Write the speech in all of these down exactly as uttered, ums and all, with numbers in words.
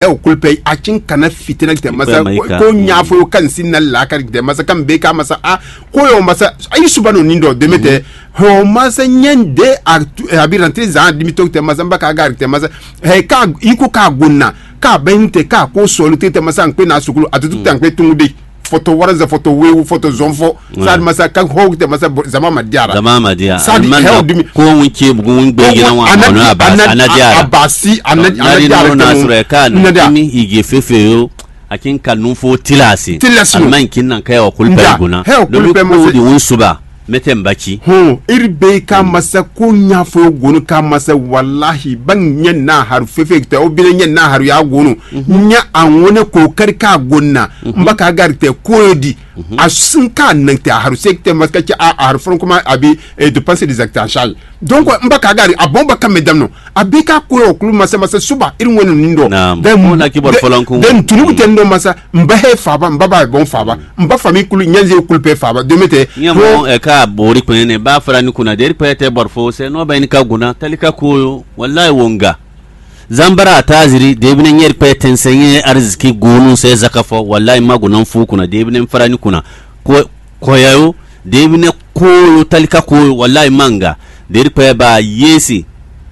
Ɛ o kulupɛ a ci kana fitɛnɛ tɛ masa ko nya fo yo kan si na la ka tɛ masa kan be ka masa a ko yo masa ayi suba no ni dɔ deme tɛ. Ho masa nyɛn de a abi rantre zan dimi to tɛ masa ba ka gari tɛ masa. Hɛ ka iko ka gona ka bɛ n tɛ ka ko sɔlu te tɛ masa n pe na sukulu a tutu tɛ n pe tungu de. Foto waranzɛ, foto wewu, foto zɔnfɔ. Sadi masa ka ho tɛ masa zama ma diara. Zama ma diara. Sadi hɛ o dimi. Ko un ce bugun un gbe yina wa ana diara. Abasi ana diara. Nasɔrɔ ka na dimi ige fefe yo. A kin ka nun fo tilasi. Tilasi. Alima kin nan kɛ o kulpɛ gona. Hɛ o kulpɛ masa. Di un suba. Mete mbaci. Hɔn iri be ka masa ko nya fo gonu ka masa walahi ban nyɛ na haru fefe tɛ o bi nyɛ na haru ya gonu. Nya a ŋone ko kari ka gonna. N ba ka gari tɛ ko di. A sin ka nɛn tɛ a haru se tɛ mas ka cɛ a haru fɔlɔ kuma a bi e dépense des actes en charge. Donc n ba ka gari a bɔn ba ka mɛ dam nɔ a bi ka ko yɔ kulu masa masa suba iri ŋwɛnu ni dɔ. Naam. Then mo na kibɔ fɔlɔ nkun. Then tunu tɛ n dɔ masa n ba he fa ba n ba ba bɔn fa ba n ba fa mi kulu nyɛnze kulu pɛ fa ba deme tɛ. Nyɛ mo ɛ ka bori kpɛn ne ba fara ni kuna deri pɛ tɛ bɔr fo sɛ n'o bɛ ni ka gona tali ka ko yo walayi wo nga. Zambara ataziri deebine nyɛri kpɛ tɛnsɛnyɛ ariziki gonu sɛ zaka fɔ walayi ma gona fu kuna deebine fara ni kuna ko kɔyayo deebine koyo talika koyo walayi ma nga deri kpɛ ba yesi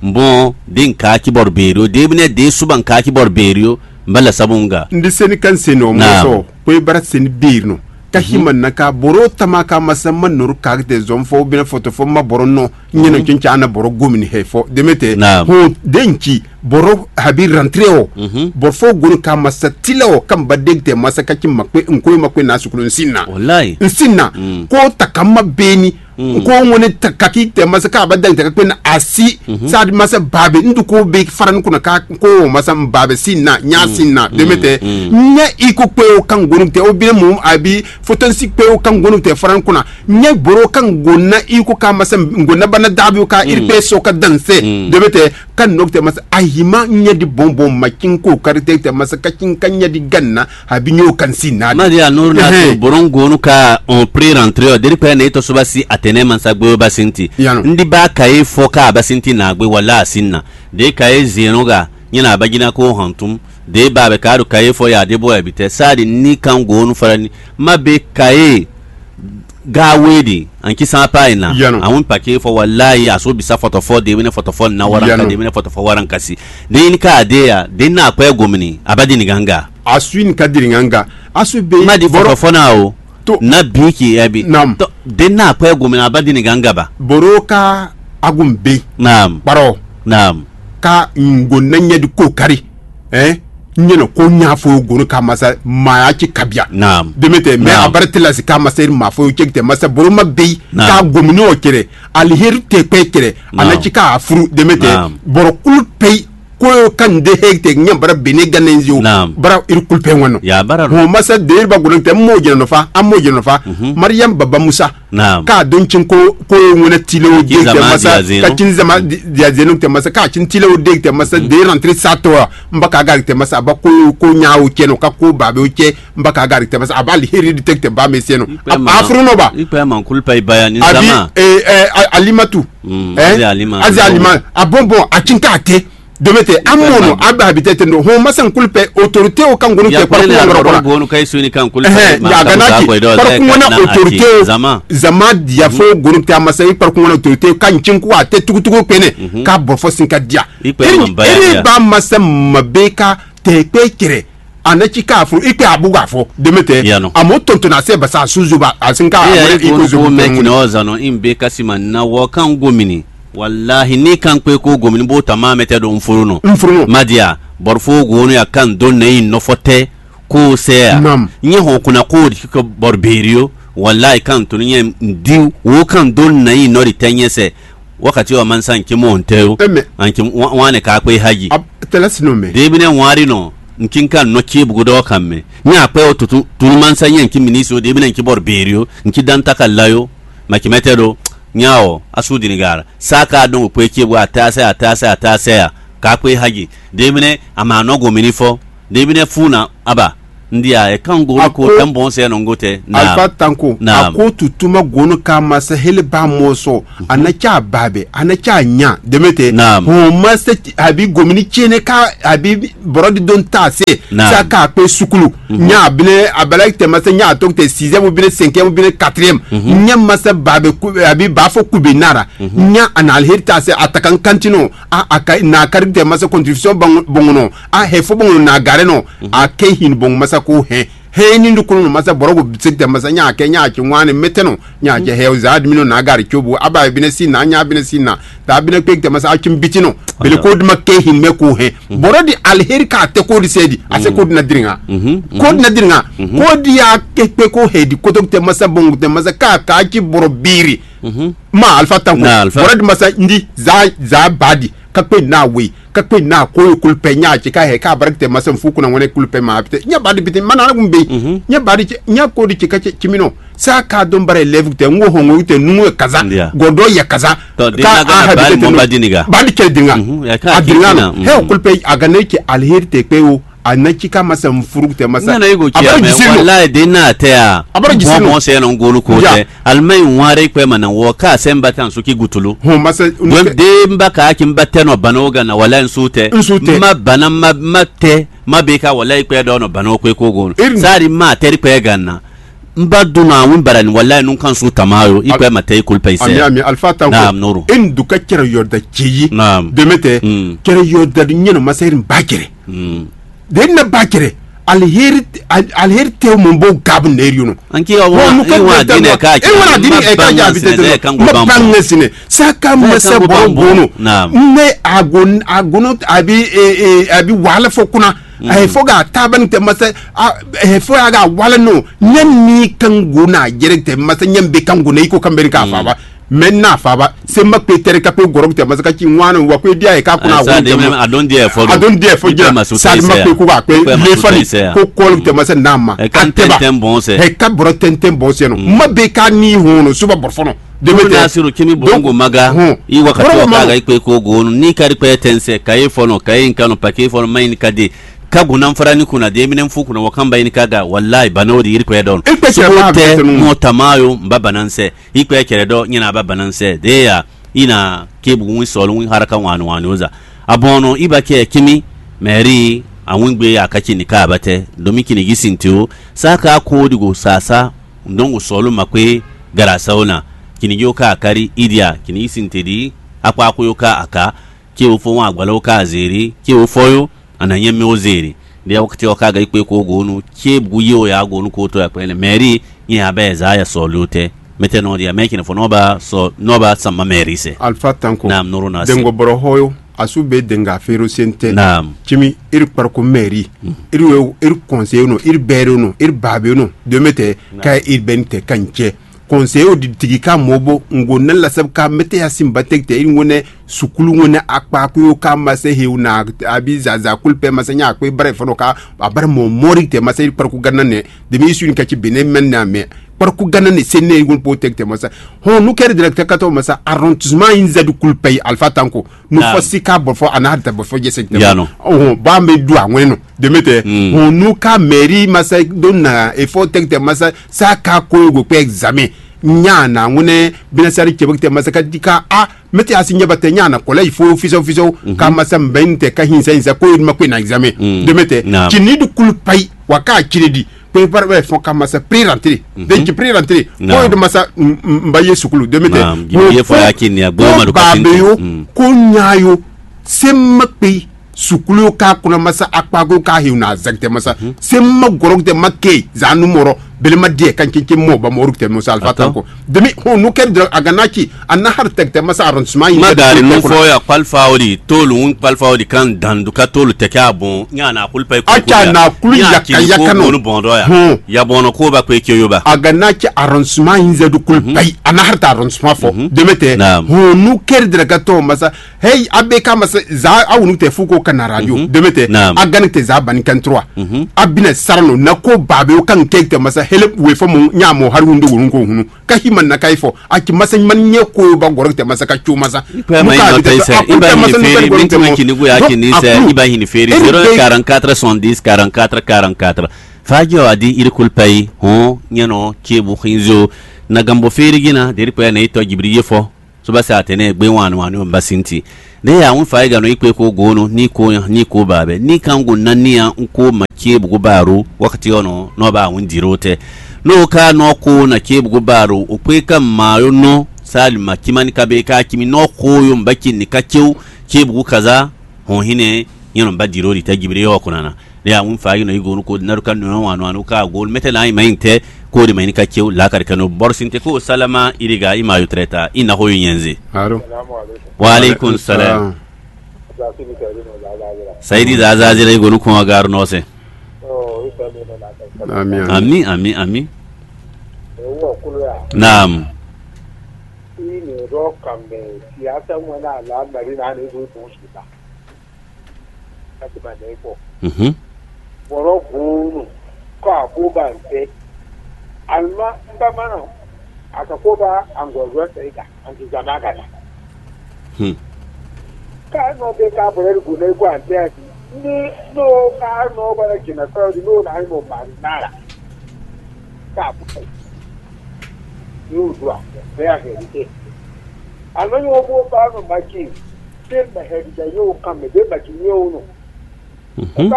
mbɔn de nka kibɔr berio deebine de suba nka kibɔr berio mbala sabu nga. Ndi seni kan seni o mɔsɔ ko e bara seni beer no. Ka hima na ka boro tama ka masa ma noru ka te zɔn fɔ bina foto fɔ ma boro no. Nyɛnɛ cun ca ana bɔrɔ gomini hɛ fɔ demete. Naam. Ho denci bɔrɔ habi rantre o. Bɔrɔ fɔ gonu ka masa tila o kan ba degte masa ka ci makpe nkoe makpe na sukulu nsinna. Wallahi. Nsinna. Ko takama beni. Ko ŋone takaki te masa ka ba degte ka kpe na asi. Sadi masa babe ndu ko be faran kuna ka ko masa babe sinna nya sinna demete. Nya iko kpe o kan gonu te o bi mu abi fotonsi kpe o kan gonu te faran kuna. Nyɛ gboro ka ŋgo ná i ko ka masa ŋgo ná ba ná dabi ka iri pe so ka danse. Debe te ka nok te masa ahima nyɛ di bonbon ma kin ko kari te te masa ka kin ka nyɛ di ganna abi nyo kan si na. Mari anur na to boron gonu ka on pre rentre o deri pe ne to soba si atene mansa gbe ba sinti. Ndi ba ka e fo ka ba sinti na gbe wala sinna. De ka e zeno ga nyɛ na ba gina ko hantum. De ba be ka do ka e fo ya de bo ya bi te sa di ni kan gonu fara ni. Ma be ka e ga wedi an ki san pa ina. Yano. Awun pake fɔ wallahi aso bisa fɔtɔfɔ de wene fɔtɔfɔ na waran ka de wene fɔtɔfɔ waran kasi. De in ka de ya de na kwe gomini abadi ni ganga. Asu in ka diri ganga. Asu be ma di fɔtɔfɔ na o. To na bi ki ebi. Nam. To de na kwe gomini abadi ni ganga ba. Boro ka agun be. Nam. Baro. Nam. Ka ngo na nyɛ di ko kari. Ɛn nyɛnɛ ko nya fo gonu ka masa maya ci kabia. Naam. Demete mɛ a bare tela si ka masa iri ma fo cek te masa boro ma bei ka gomini o kere. Aliheri te kpe kere. Ana ci ka furu demete boro kulu pei ko yo kan de he te nya bara bene ganenzi o. Bara iri kulu pe wano. Ya bara ho masa de iri ba gonu te mo jeno fa a mo jeno fa. Mariam baba Musa. Naam. Ka don cin ko ko ŋwɛnɛ tile o de tɛ masa ka cin zama dia zenu tɛ masa ka cin tile o de tɛ masa de rantre sato. N ba ka gari tɛ masa a ba ko ko nya o cɛ no ka ko ba be o cɛ n ba ka gari tɛ masa a ba li heri di tɛ tɛ ba me se no. A furu no ba. Ikpe man kulu pa ibaya ni zama. Abi eh eh alimatu. Eh azi alima a bon bon a cin ka te. Demete amono abe habitete ndo ho masa nkulu pe autorité o kan gonu te parku wangoro kona. Gonu kai suni kan kulu. Eh ya gana ki parku wana autorité o zama. Zama dia fo gonu te amasa i parku wana autorité o kan cinku a te tukutuku pene ka bofo sinka dia. Eri ba masa mabeka te pe kere. Ana ci ka fo ikpe abuga fo demete. Amo tonto na se basa suzu ba asinka amore iko zubu. Mekina ozano in be kasima na wo kan gomini. Walahi ni kan kpe ko gomini bo tama mete do mfuru no. Mfuru no. Madia bor fo gonu ya kan do nei no fote ko se ya. Nyɛ ho kuna ko di ko bor berio. Walahi kan to nyɛ ndi wo kan do nei no di tenye se. Wakati wa mansa nke mo onte yo. Anke wane ka kpe haji. Tela sino me. Debi ne wari no nkin kan no ki bugo do kan me. Nya kpe o tutu tunu mansa nyɛ nki ministre debi ne nki bor berio nki danta ka layo. Makimete do nya o asu dinigara. Saka don kwe ki bu atase atase atase ya. Ka kwe haji. Debi ne ama no go mini fo. Debi ne funa aba. Ndia e kan go ko Ako- tɛn bɔn sɛ nɔ go tɛ. Alfa Tanko, Naam. Ako tutuma gono ka masa hele ba mɔsɔ. Ana cha babe, ana cha nya, demete. Naam. Ho masa abi gomini chene ka abi brodi don ta se. Naam. Sa ka pe sukulu. Nya abine abala te masa nya to te sixième ou bien cinquième ou bien quatrième. Nya masa babe ku- abi bafo kube nara. Nya ana alheri ta se atakan kantino. A a ka na kari te masa contribution bong- bongono. A hefo bongono na gare no. A ke hin bong masa ko he. He ni ndu kono masa boro go bisek te masa nya ke nya ke ŋwani meteno. Nya ke he za admino na gari chobu. Aba bine si na nya bine si na. Ta bine kpek te masa a chim bitino. Bele ko dima ke hin me ko he. Boro di alheri ka te ko di sedi. A se ko di na dringa. Ko di na dringa. Ko di a ke pe ko he di kotok te masa bong te masa ka ka chi boro biri. Ma alfa tanko. Na alfa. Boro di masa ndi za za badi. Ka kpe na we, ka kpe na ko yo kulpe nya che ka he ka barak te masa fu kuna wene kulpe ma apite. Nya badi bite mana na gumbe. Nya badi che nya ko di che ka che chimino. Sa ka don bare levu te ngo hongo te nungo kaza. Godo ya kaza. To di na ga badi mo badi ni ga. Badi che dinga. A dinga no. He kulpe a ga ne che alheri te pe o. A na ci ka masa mfuru te masa. Nana yugo ci a me wallahi de na te a. Abara jisino. Bon se no ngolu ko te. Almai ware kpe mana wo ka se mbata nsu ki gutulu. Ho masa. Don de mba ka ki mba te no bana o ga na wallahi nsu te. Nsu te. Ma bana ma ma te ma be ka wallahi kpe do no bana o kpe ko go. Sari ma te kpe ga na. Mba duna wun barani wallahi nun kan su tamayo. Ikpe ma te kulpe ise. Ami ami alfa tanko. Naam nuru. In duka cere yorda ciyi. Naam. Demete. Cere yorda nyeno masa irin bakere. De na bakere. Alheri alheri te mo bo gab neri no. Anki wa wa dine ka. E wa dine e ka ja bi te. Ma bange sine. Saka masa boro bono. Naam. Ne agon agono abi e abi wala fo kuna. Ayi fo ga taban te masa. Ayi fo ga wala no. Nyɛ mi kan go na jere te masa nyɛ be kan go na iko kan beri ka fa ba. Mɛ na fa ba. Se ma pe tere ka pe goro te masa ka ci ŋwano wa pe dia e ka kuna go. Adon dia fo. Adon dia fo jira. Sa ma pe ko ka pe le fani. Ko kol te masa na ma. E kan tenten bon se. E ka bro tenten bon se no. Ma be ka ni hono suba borfono. Debe te. Nasiru kimi bongo maga. I wakati wa kaga ikpe ko go ni kari pe tense ka e fono ka e nkano pa ke fono mai ni kade. Ka gunan fara ni kuna de minen fu kuna wa kan ba ini kaga wallahi bana o di iri kwe don. Ikpe chere ba te mo tamayo mba bananse. Ikpe chere do nyina ba bananse de ya. Ina ke bu win solo win haraka wani wani oza. Abono iba ke kimi meri a win gbe ya ka chini ka ba te. Domi kini gisin ti o. Sa ka ko di go sasa. Ndongo solo makwe gara saona. Kini yo ka kari idia kini gisin te di. Akwa ko yo ka aka. Ke o fo wan agbala o ka zeri. Ke o fo yo. Ana nyɛ mɛ o zeri. Dia wakati o ka ga ikpe ko gonu. Ke bu yo ya gonu ko to ya kpɛnɛ. Mɛri nyɛ abɛ za ya sɔli o tɛ. Mɛtɛ nɔ dia mɛ kina fo nɔ ba sɔ nɔ ba sama mɛri sɛ. Alfa tanko. Naam nuru na sɛ. Dengo bɔrɔ hoyo. Asu be denga fero sente. Naam. Chimi iri kparko mɛri. Iri we iri conseil no iri bɛri no iri babe no. Demete ka iri bɛni tɛ ka ncɛ. Conseil o di tigi ka mɔ bo ngo ne la sɛbɛ ka mete ya sin ba tɛgɛ tɛ i ngo ne sukulu ngo ne akpa ko yo ka ma se he na abi zaza kul pɛ ma se nya akpe bare fɔlɔ ka abare mɔ mɔri tɛ ma se kpariku gana ne demi isu ni ka ci bene mɛ na mɛ kpariku gana ne se ne ngo po tɛgɛ tɛ ma sa. Hɔn nu kɛri direct ka tɔ ma sa arrondissement in zɛdu kul pɛ alfa tanko. Nu fɔ sika bɔ fɔ ana da bɔ fɔ jɛsɛ tɛ. Yano. Ɔhɔn ba me du awɛn no. Demete. Hɔn nu ka mɛri ma sa do na efɔ tɛgɛ tɛ ma sa sa ka ko yo go kpɛ examen. Nya na ŋunɛ binasari cɛ bɛ tɛ masa ka di ka a mɛtɛ asi nya ba tɛ nya na kɔlɛ ifo fisɔ fisɔ ka masa mbɛn tɛ ka hinsa hinsa ko yirima ko na examen. Demete. Ci ni du kulu pai wa ka cire di ko e para bɛ fɔ ka masa pre rentrée. De ci pre rentrée ko e do masa mba ye sukulu demete. Ye fɔ ya ki ni agbo ma do ka ba be yo ko nya yo se ma pe. Sukulu ka kuna masa akpago ka hiu na zɛgtɛ masa se ma gɔrɔgtɛ ma ke zanu mɔrɔ belema diɛ kan keke mɔ ba mɔru tɛ musa alfa tanko demi ho nu kɛ dɔrɔn a gana ci a na har tɛgtɛ masa arrondissement yi ma dari nu fɔ ya kpalifa o di tolu un kpalifa o di kan dandu ka tolu tɛkɛ a bon nya na kulu pɛ acha na kulu yaka yaka no bɔn dɔ ya ya bɔn ko ba ko e ke yo ba a gana ci arrondissement yi zɛdu kulu pɛ a na har ta arrondissement fɔ demete ho nu kɛ dɔrɔn ka tɔ masa Hei, a be ka ma se za a wunu te fu ko ka na radio. Deme te a gani te za bani kan trois. A bina sarano na ko ba be o kan ke te masa hele we fo mo nya mo haru hunde wonu ko hunu. Ka hi man na kai fo. A ki masa man nye ko ba goro te masa ka chu masa. Ipa ma ino te se iba hini feri mintu ma kini go ya kini se iba hini feri zéro un quarante-quatre soixante-dix quarante-quatre quarante-quatre. Faji ɔ adi iri kulpa yi hɔn nyɛnɔ ce bu xinzo na gambo feere gina deri pɛ ne itɔ jibiri ye fɔ. Soba sa atene gbe wan wan ni ba sinti. De ya un fa ga no ikpe ko gono ni ko ni ko ba be ni kan go na ni an ko ma ce bu go ba ro wakati ono no ba un diro te. No ka no ko na ce bu go ba ro o kpe ka ma yo no sali ma kimani ka be ka kimi no ko yo mba ce ni ka ce ce bu go kaza. Hɔn hinɛ nyɛnɔ ba diro di ta jibiri yɔ ko nana. Ne a un fa yi nɔ yi gonu ko naru ka nɔ anu anu ka gol mɛtɛ na ima inte ko de ma ini ka chew la kar kano borsin te ko salama iriga ima yo treta ina ho yenze. Aro. Wa alaikum salam. Saidi da za zira yi gonu ko gar no se. Ami ami. Ami ami. Naam. Ini ro kambe siasa mwana la marina ne do do suda. Kati ma ne ko. Mhm. Bɔrɔ gunu ko akoba nte. Alma mbamana akakoba angozwe sega anti zamagana. Hmm. Ka no be ka bɔrɔ gunu ko ante ati. Ni no ka no bɔrɔ jina ko di no na mo marinara. Ka bu. Ni udua. Be a heri ke. Alma yo bo ba no maki. Be ma heri da yo kan me be maki yo no. Mhm.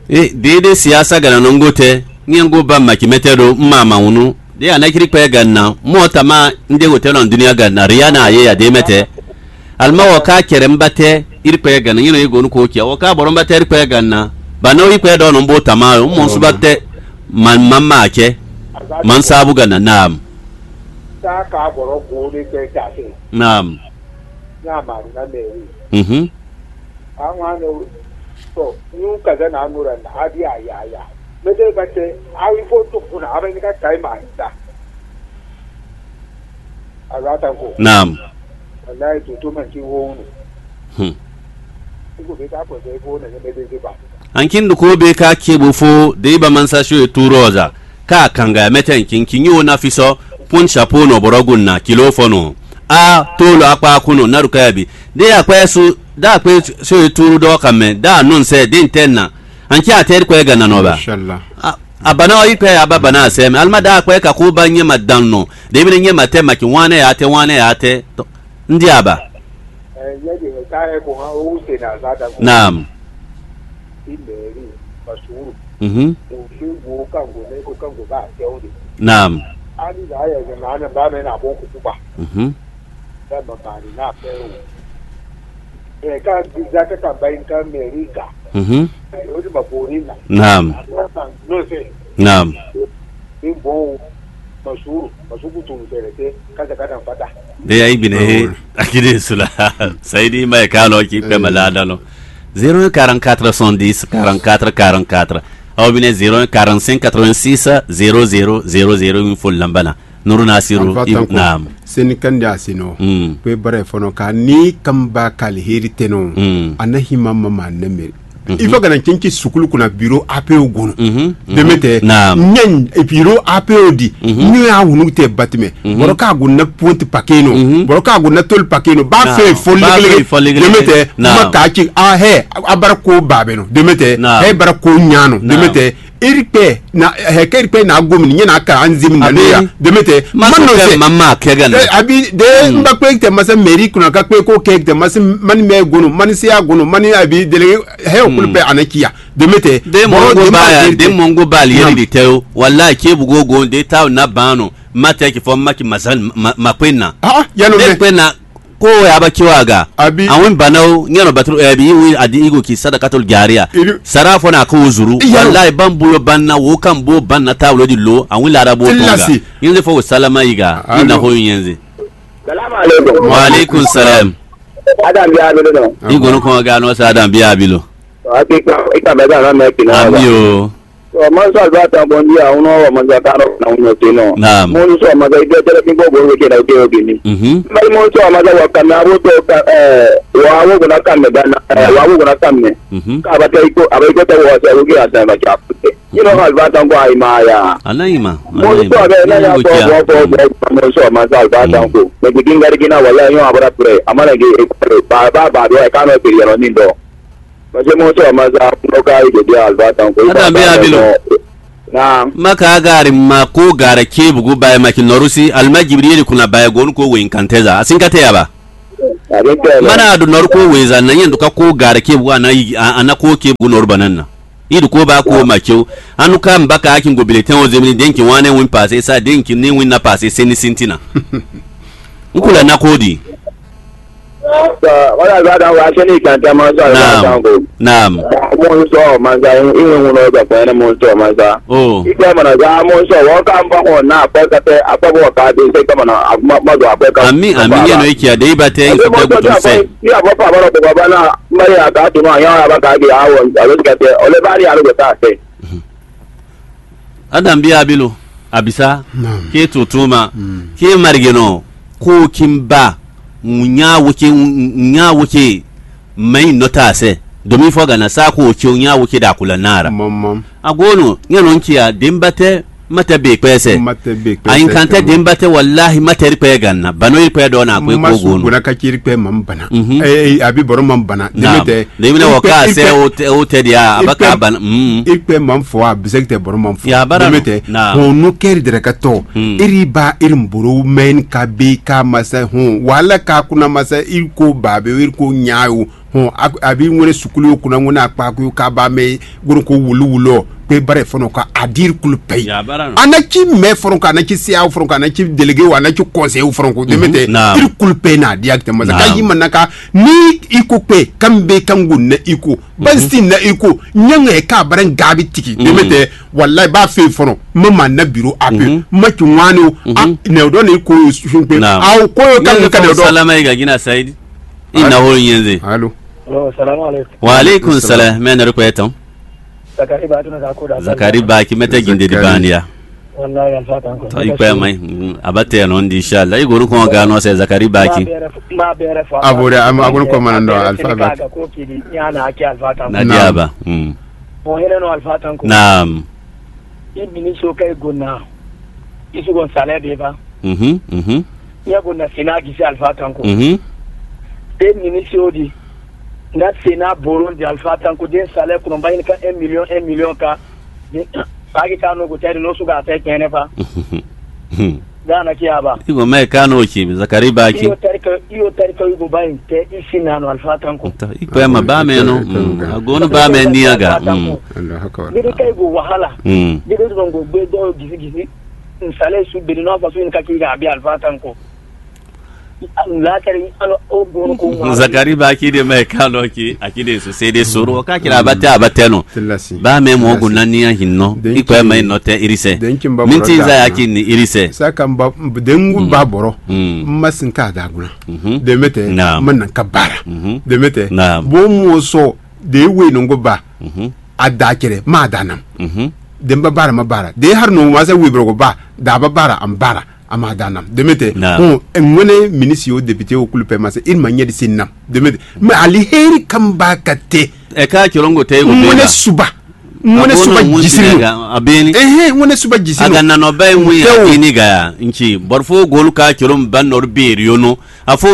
E deede siyasa gana nɔngo tɛ nyɛngo ba makimɛtɛ ɖo mma mawunu de anakiri kpɛ ganna mɔ tama nde hotɛl ɔn dunia ganna riya na aye ya de mɛtɛ. Alima wɔ ka kɛrɛ mba tɛ iri kpɛ ganna nyɛnɔ yi gonu ko cɛ wɔ ka bɔrɔ mba tɛ iri kpɛ ganna bana yi kpɛ dɔ nɔ bo tama o mɔ suba tɛ man mamma cɛ man sabu ganna naam. Sa ka bɔrɔ go de kpɛ ta se. Naam. Nya maru na mɛ. Mhm. Àwọn àna sọ ní kàdá nà nù rẹ̀ nà á bí àyà àyà. Mẹ́tẹ́ bá tẹ àwọn ifo tó fún nà abẹ́ ní ká kàí mà dà. Àlọ́ àtàkùn. Naam. Wàlá ètò tó mà kí wọ́n nù. Hmm. Nígbò bí ká pẹ̀lú ifo nà ní mẹ́tẹ́ dé bá. Ankin duko be ka ke bo fo de ba mansa sho e tu roza. Ka kanga mɛtɛ nkinkin nyi wo na fisɔ pun chapeau nɔ bɔrɔ gun na kilo fɔ nɔ. A tolo akpa kuno na du kaya bi. De akpa su da akpa so e turu dɔ kamɛ da non sɛ de ntɛ na. Anki atɛ ko ga na nɔ ba. Inshallah. A bana o ikpe ya ba bana sɛ me alma da akpa ka ko ba nyɛ ma dan nɔ. De bi nyɛ ma tɛ ma ki wane ya tɛ wane ya tɛ. Ndi aba. Naam. Naam. Naam. Naam. Eya yi gbine he akide sula. Sayidi ma ye ka lɔ ki pɛ ma la da lɔ. Zéro un quarante-quatre soixante-dix quarante-quatre quarante-quatre. Aw bine zéro un quarante-cinq quatre-vingt-six zéro zéro zéro zéro min fo lambana. Nuru nasiru. Naam. Seni kandi asino. Pe bare fono ka ni kamba kali heri teno. Ana hima mama nemeri. Il faut kana cɛnci sukulu kuna biro A P O gono. Demete. Naam. Nyen e biro A P O di. Nyo ya wunu te batime. Boro ka go na ponte pakeno. Boro ka go na tol pakeno. Ba fe fo legele. Demete. Ma ka ci a he abara ko babeno. Demete. He bara ko nyano. Demete. Iri kpɛ na hɛkɛ iri kpɛ na gomi nyɛ na kara anzimi na ne ya. Demete. Ma no se. Mama kɛ gana. Abi de n ba kpe tɛ masa meri kuna ka kpe ko kɛ tɛ masa mani mɛ gono mani se ya gono mani abi dele hɛ okulu pɛ ana kiya. Demete. De mongo ba ya de mongo ba li yeli tɛ o. Wala ke bugo go de ta na bano. Ma tɛ ki fɔ ma ki masa ma kpe na. Ah, ya no me. Kpe na. Ko ya ba kiwa ga. Abi. Awin banaw nyɛnɔ batru ɛbi iwi adi igo ki sadakatul jariya. Sara fɔ na ko zuru. Wallahi ban buyo ban na wo kan bo ban na tawlo di lo awin lara bo tonga. Yinze fo salama iga. Ina ho yinze. Salam alaikum. Wa alaikum salam. Adam bi abilo no. Igo no ko ga no sa adam bi abilo. Ati ka ika bega na me kina. Ami o. Ɔ, mansɔ alba tan bɔn di a unɔ ɔ mansɔ kan ɔ na unɔ te nɔ. Naam. Mɔnu sɔ mansɔ ibi ɔtɛ lɛ kí gbɔ bolo weke na oke oke ni. Mhm. Mbali mɔnu sɔ mansɔ wɔ kami abo tɔ ka ɛ wɔ awo gona kami ba na ɛ wɔ awo gona kami. Mhm. Ka ba tɛ iko aba iko tɛ wɔ sɛ oke a tɛ ba ca. Ino alba tan kɔ ayi ma ya. Ana ima. Mɔnu sɔ bɛ na ya bɔ bɔ bɔ bɔ mɔnu sɔ mansɔ alba tan ko. Mɛ kiki ngari kina wala yɔn abra pre. Amana ge e ba ba ba do e kano e peri yɔrɔ ni dɔ. Ɔjɛ mɔ sɔ ma sa nɔ ka yi dede alba tan ko. Adam bi abilo. Na. Maka agari ma ko gara ke bugu baye ma ki nɔrusi alima jibiri yeri kuna baye gonu ko wen kanteza asin kate yaba. Mana adu nɔru ko weza na yɛn duka ko gara ke bugu ana yi ana ko ke bugu nɔru banana. Idu ko ba ko ma chew. Anu ka mbaka akin go bileten o zemini denki wane win pase sa denki ni win na pase seni sintina. Nkula na ko di. Wala za dan wa seni kanta ma so alba tan ko. Naam. Mo so ma sa in in mo no da pa na mo so ma sa. Oh. Ike mana za mo so wa ka mba ko na pa ka te apa bo ka de se ka mana ma do apa ka. Ami ami yɛn no ikia de iba te in so te gutun se. Ni apa pa bara ko ba na mari aka to no ya ba ka de awo. Alo ka te ole ba ni alo ka te. Adam bi abilo abisa. Ke tutuma ke marigeno ko kimba nya woke nya woke mai nota se domi fo gana sa ko che nya woke da kula nara. Mɔmɔ. Agono nya non kia dembate mate be kwese. Mate be kwese. Ayinkante dembate wallahi mate ri kwe ganna bano ri kwe do na kwe ko gono. Gona ka kiri kwe mam bana. Mhm. Eh, eh, abi boro mam bana. Naam. Demete. Demina waka se o te o te dia abaka bana. Mm. Iri kwe mam fo a bisek te boro mam fo. Ya bara. Demete. Naam. Ho no keri dere ka to. Mm. Iri ba iri mboro men ka be ka masa ho. Wala ka kuna masa iri ko ba be iri ko nyayo. Hɔn a bɛ ŋwɛrɛ sukulu kunna ŋwɛrɛ akpa ko ka ba mɛ goro ko wulu wulu ɔ kpe bara fɔnɔ ka adiri kulu pɛ yi. A na ci mɛ fɔlɔ ka a na ci seya fɔlɔ ka a na ci delege wa a na ci kɔnsɛyi fɔlɔ ko dɛmɛ tɛ iri kulu pɛ na di akitɛ masa ka yi ma na ka ni iko kpe kan bɛ kan go nɛ iko basi nɛ iko nyɛŋɛ ka bara gabi tiki dɛmɛ tɛ wala ba fe fɔlɔ ma ma na biro a pe ma ci ŋwani o nɛ o dɔ ni ko sun pe awo ko yo kan ka dɔ. Salama yi ka gina sayidi. I na hol nyenze. Alo. Alo, salamu alaikum. Wa alaikum salam. Men ri kwe tɔn. Zakari ba tuna ka koda. Zakari ba ki mete ginde di bandia. Wallahi alfa tan ko. To ikwe mai. Abate no ndi inshallah. I goru ko ga no se Zakari ba ki. Ma bere fo. Abore am agun ko manando alfa ba. Ka ko ki di yana aki alfa tan. Na diaba. Mm. Mo hele no alfa tan ko. Naam. I mini so kai gona. Isu gon salaire de ba. Mhm. Mhm. Nya ko na sena gisi alfa tanko. Mhm. E mini si odi. Na sena boron di alfa tanko den salaire ko ba ka un million un million ka. Pagi ka no go tɛri no su ka fɛ kɛnɛ fa. Gana ki aba. Igo mai ka no ki Zakari ba ki. Iyo tɛri ka iyo tɛri ka yugo ba in tɛ isi na no alfa tanko. Ikpe ma ba mɛ no. Agonu ba mɛ ni aga. Dede ka yugo wahala. Dede don go gbe do gisi gisi. Nsale su beri no fa su in ka ki ga abi alfa tanko. Zakari ba ki de mai kalo ki aki de su se de soro ka kira abate abate no. Ba me mo go nani ya hinno. Ikpe mai no te irise. Minti za ya ki ni irise. Sa kan ba dengu ba boro. Ma sin ka da guna. Demete ma nan ka bara. Demete bo mo so de we no go ba. A da kere ma da nam. Demba bara ma bara de har no ma se we bro go ba da ba bara am bara. Ama da nam demete. Bon, ŋwɛnɛ minisi o député o kulu pɛ ma se il ma nyɛ di sin nam demete. Mais ali heri kamba ka te. E ka cɔlɔngo tɛ e ko ŋwɛnɛ suba. Ŋwɛnɛ suba jisiri no. Abeni. Ehe, ŋwɛnɛ suba jisiri no. Aga nanɔ ba e ŋwi abeni ga ya. Nci bɔrfo golu ka cɔlɔn ba nɔr beri yo no. Afo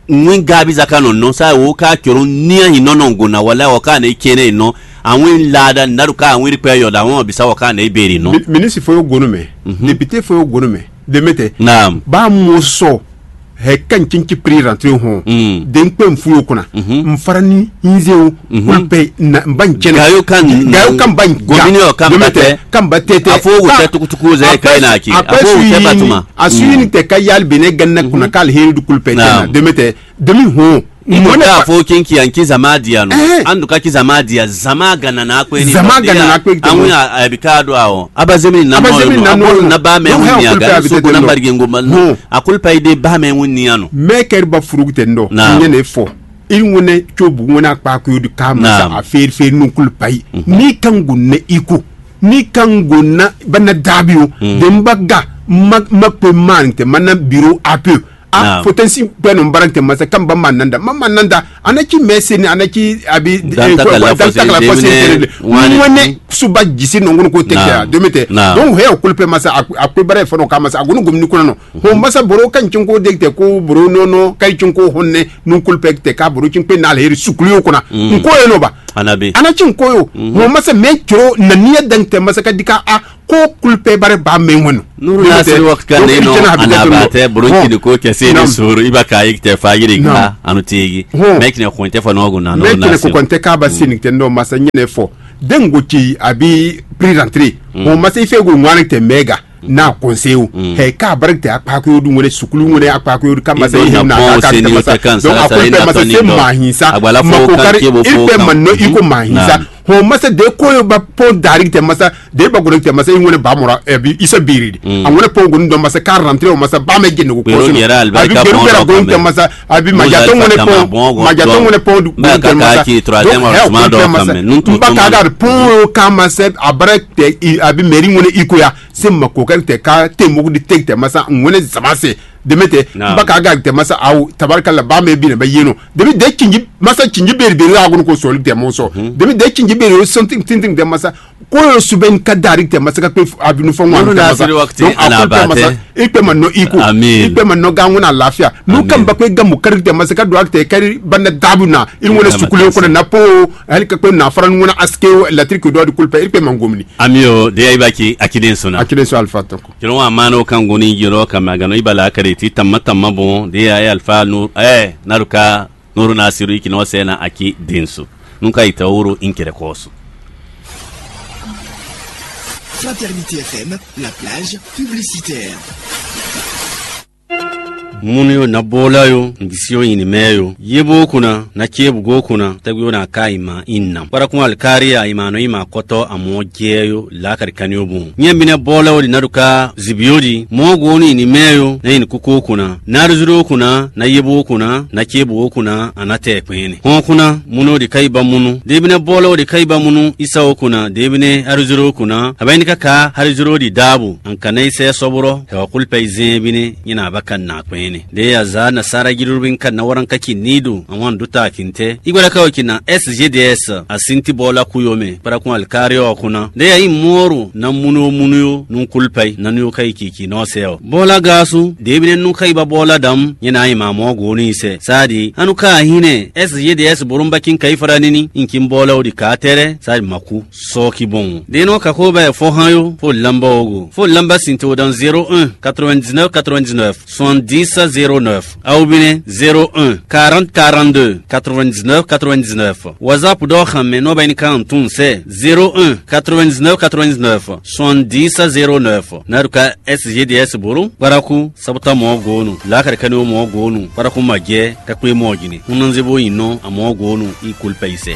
ŋwi gabi zaka nɔ nɔ sa wo ka cɔlɔn nia yi nɔ nɔ go na wala o ka ne kene nɔ. Awin lada naru ka awin ri pɛ yɔ da wɔn bisa o ka ne beri nɔ. Minisi fo yo gonu mɛ. Député fo yo gonu mɛ. Demete. Naam. Ba mo sɔ. Hɛ kan cinci pri rentré hɔn. Den kpɛ n fu yo kuna. N fara ni n ze o. Kulu pɛ na n ba n cɛnɛ. Gayo kan gayo kan ba n gomini o kan ba tɛ. Kan ba tɛ tɛ. A fo wo tɛ tukutuku zɛ ka na ki. A fo wo tɛ batuma. A suyi ni tɛ ka yali bene ganna kuna ka alheri du kulu pɛ tɛ na. Demete. Demi hɔn. Imo ka fo kinki an ki zama dia no. An du ka ki zama dia zama ganna na kwe ni. Zama ganna na kwe. An wi a bi ka do a o. Aba zemi na mo. Aba zemi na mo. Na ba me wi ni a ga so ko na barigi ngo ma. A kulpa ide ba mɛ ŋun ni ano. Mɛ kɛri ba furugutɛ ndɔ nyɛ ne fɔ. I ŋun ne tso bu ŋun na kpa ko di ka ma sa a feri feri nu kulpa yi. Ni kan gun ne iko. Ni kan gun na ba na dabi o. De n ba ga ma ma pe man te ma na biro a pe. A fotɛnsi bɛ nɔ bara tɛ masa kan ba ma nanda ma ma nanda. Ana ci mɛ se ni ana ci abi dan ta kala fɔ se de mine wani. Ŋwɛnɛ suba jisi nɔŋgɔn ko tɛ kɛ a dome tɛ. Donc hɛ o kolo pɛ masa a ko bara fɔnɔ ka masa a ko ni gomini kɔnɔ nɔ. Ho masa boro kan cin ko de tɛ ko boro nɔnɔ kai cin ko hɔnɛ nu kolo pɛ tɛ ka boro cin pe na le sukulu yo kɔnɔ. Nko ye nɔ ba. Anabi. Ana ci nko yo. Ho masa mɛ coro na ni ya dan tɛ masa ka di ka a ko kulpɛ bare ba mɛ ŋwɛnu. Nuru Nasiru wakati ne nɔ anaba tɛ bolo kini ko kɛ se ne soro iba ka yi tɛ fa yiri ka anu tigi. Mɛ kine ko tɛ fa nɔgɔ na. Mɛ kine ko kɔn tɛ ka ba sini tɛ nɔ masa nyɛ ne fɔ. Dengo ci abi prix d'entrée. Ho masa ife go ŋwani tɛ mɛga na kɔnse o. Hɛ ka bare tɛ akpa ko du ŋwɛne sukulu ŋwɛne akpa ko du ka masa ihe na ka tɛ masa. Donc a ko tɛ masa se ma hin sa. Ma ko kari ife ma nɔ iko ma hin sa. Ho masa de ko yo ba pon dari tɛ masa de ba gɔnɔ tɛ masa i ŋwɛnɛ ba mɔra ɛbi isa biri di. A ŋwɛnɛ pon gɔnɔ dɔn masa ka rantre o masa ba mɛ jɛ nugu kɔsɔ. Abi beru kɛra gɔnɔ tɛ masa abi majatɔ ŋwɛnɛ pon majatɔ ŋwɛnɛ pon du gɔnɔ tɛ masa. Donc hɛ o tɛ masa n ba ka ka pon yo ka masa abara tɛ abi mɛri ŋwɛnɛ iko ya se ma ko kari tɛ ka te mogu di te tɛ masa ŋwɛnɛ zama se. Deme tɛ n ba ka ga tɛ masa awo tabarikala ba mɛ bi na ba yeno. Deme de cinji masa cinji beri beri la gono ko sɔli tɛ mɔ sɔ. Deme de cinji beri o sɔntin tintin tɛ masa ko yo subɛn ka dari tɛ masa ka pe abinu fɔ ŋwa tɛ masa. Donc a ko tɛ masa i pe ma nɔ iko i pe ma nɔ ga ŋuna lafiya. Nu kan ba ko gamu kari tɛ masa ka do a tɛ kari banda dabu na i ŋuna sukule ko na po. Ali ka ko na fara ŋuna aske latri ko do a di kulpa i pe ma ngomni. Ami o de ayi ba ki akiden sona. Akiden so alfa tɔn. Kino wa mano kan goni jiro kama gano ibala kare ti tamma tamma bon de ya alfa nu eh naruka nuru nasiru ikino sena aki dinsu. Nunca ita uru inkere kosu. Fraternité F M, la plage publicitaire. Munu yo na bola yo, ngisio ini mɛ yo. Yebo kuna na cebu go kuna tagwi yo na ka ima inna. Para kun alkari a ima no ima koto amo je yo la kari kanio bun. Nye bine bola yo di naduka zibiodi mo go ni ini mɛ yo na ini kuko kuna. Na rizuro kuna na yebo kuna na cebu kuna anate kwene. Hon kuna muno di kaiba munu. Debine bola yo di kaiba munu isa o kuna debine arizuro kuna. Abaini kaka arizuro di dabu. An kana ise soboro. Hewa kulpa izin bine nyina abaka na kwene. De ya za na sara girubin kan na waran kaki nidu an wan duta kinte. Igwara kawo kina S G D S a sinti bola kuyome para kun alkari o kuna. De ya i moru na munu munu yo nun kulpa na nu kai kiki no se o. Bola gasu de bine nu kai ba bola dam nyina i ma mo go ni se. Sadi anu ka hine S G D S burumba kin kai faranini in kin bola o di ka tere sadi maku. Sɔki bon. De no kako ba fo han yo fo lamba ogo. Fo lamba sinto dan zéro un quatre-vingt-dix-neuf quatre-vingt-dix-neuf. Soixante-dix zéro neuf. Aw bine zéro un quarante quarante-deux quatre-vingt-dix-neuf quatre-vingt-dix-neuf. WhatsApp dɔ xan mɛ nɔ ba ni kan tun sɛ zéro un quatre-vingt-dix-neuf quatre-vingt-dix-neuf soixante-dix zéro neuf. Naruka S G D S boro baraku sabuta mɔ gonu lakari kani mɔ gonu baraku majɛ kakpe mɔ jini. Hunanze bo yin nɔ amɔ gonu i kulpa isɛ.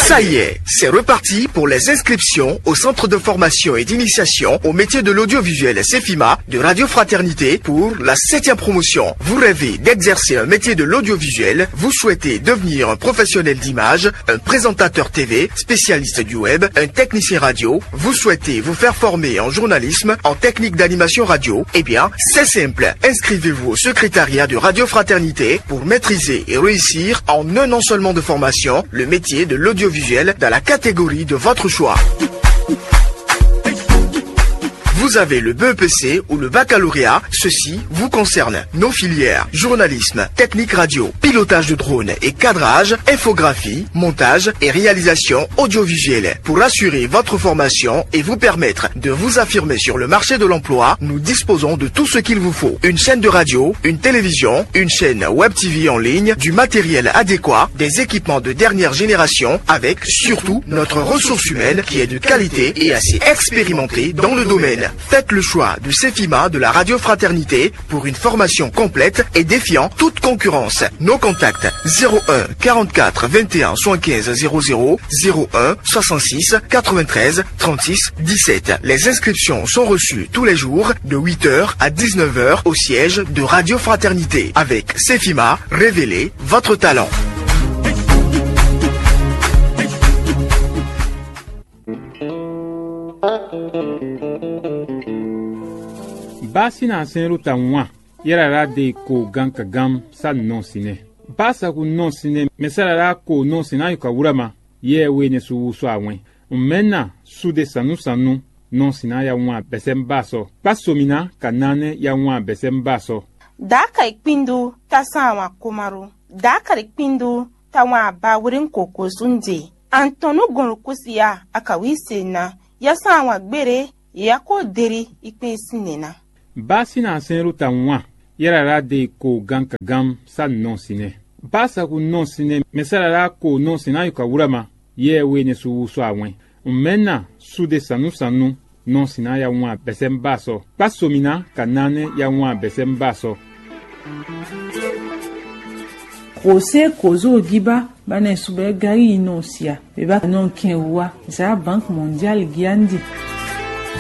Ça y est, c'est reparti pour les inscriptions au centre de formation et d'initiation au métier de l'audiovisuel Cefima de Radio Fraternité pour la septième promotion. Vous rêvez d'exercer un métier de l'audiovisuel, vous souhaitez devenir un professionnel d'image, un présentateur T V, spécialiste du web, un technicien radio, vous souhaitez vous faire former en journalisme, en technique d'animation radio, eh bien, c'est simple. Inscrivez-vous au secrétariat de Radio Fraternité pour maîtriser et réussir en un an seulement de formation le métier de l'audiovisuel dans la catégorie de votre choix. Vous avez le B E P C ou le baccalauréat, ceci vous concerne. Nos filières, journalisme, technique radio, pilotage de drone et cadrage, infographie, montage et réalisation audiovisuelle. Pour assurer votre formation et vous permettre de vous affirmer sur le marché de l'emploi, nous disposons de tout ce qu'il vous faut. Une chaîne de radio, une télévision, une chaîne web T V en ligne, du matériel adéquat, des équipements de dernière génération, avec surtout notre ressource humaine qui est de qualité et assez expérimentée dans le domaine. Faites le choix de Cefima de la Radio Fraternité pour une formation complète et défiant toute concurrence. Nos contacts: zéro un quarante-quatre vingt et un soixante-quinze zéro zéro, zéro un soixante-six quatre-vingt-treize trente-six dix-sept. Les inscriptions sont reçues tous les jours de huit heures à dix-neuf heures au siège de Radio Fraternité. Avec Cefima, révélez votre talent. Bá sín ná sɛn ɖó ta wǎn, yɛ́ ɖaɖa ɖe ko gan ka gán sá nɔ sin nɛ. Bá sagu nɔ sin nɛ mɛ sá ɖaɖa ko nɔ sin ná yi ka wúrama, yɛ we ne su wú sɔ awɛn. Mɛ̌ na suɖe sannúsannú nɔ sin ná ya wǎn bɛsɛ́ mbá sɔ. Kpá somi ná ka ná nɛ́ ya wǎn bɛsɛ́ mbá sɔ. Daaka ikpindu ta san wan komaru. Daaka ikpindu ta wan abawrin koko sunde. Antɔnu gɔnlukusia akawise na. Ya san wan gbére, ya ko deri ikpin sinne na. Bá sín ná sɛn ɖó ta wǎn, yɛ́ ɖaɖa ɖe ko gan ka gán sá nɔ sin nɛ. Bá sagu nɔ sin nɛ mɛ sá ɖaɖa ko nɔ sin ná yi ka wúrama, yɛ we ne su wú sɔ awɛn. Mɛ̌ na suɖe sannúsannú nɔ sin ná ya wǎn bɛsɛ́ mbá sɔ. Kpá somi ná ka ná nɛ́ ya wǎn bɛsɛ́ mbá sɔ. José Kozo Giba ba ne subɛ gari yi nɔ sia. Beba nɔ kɛn wa za Banque Mondiale giandi.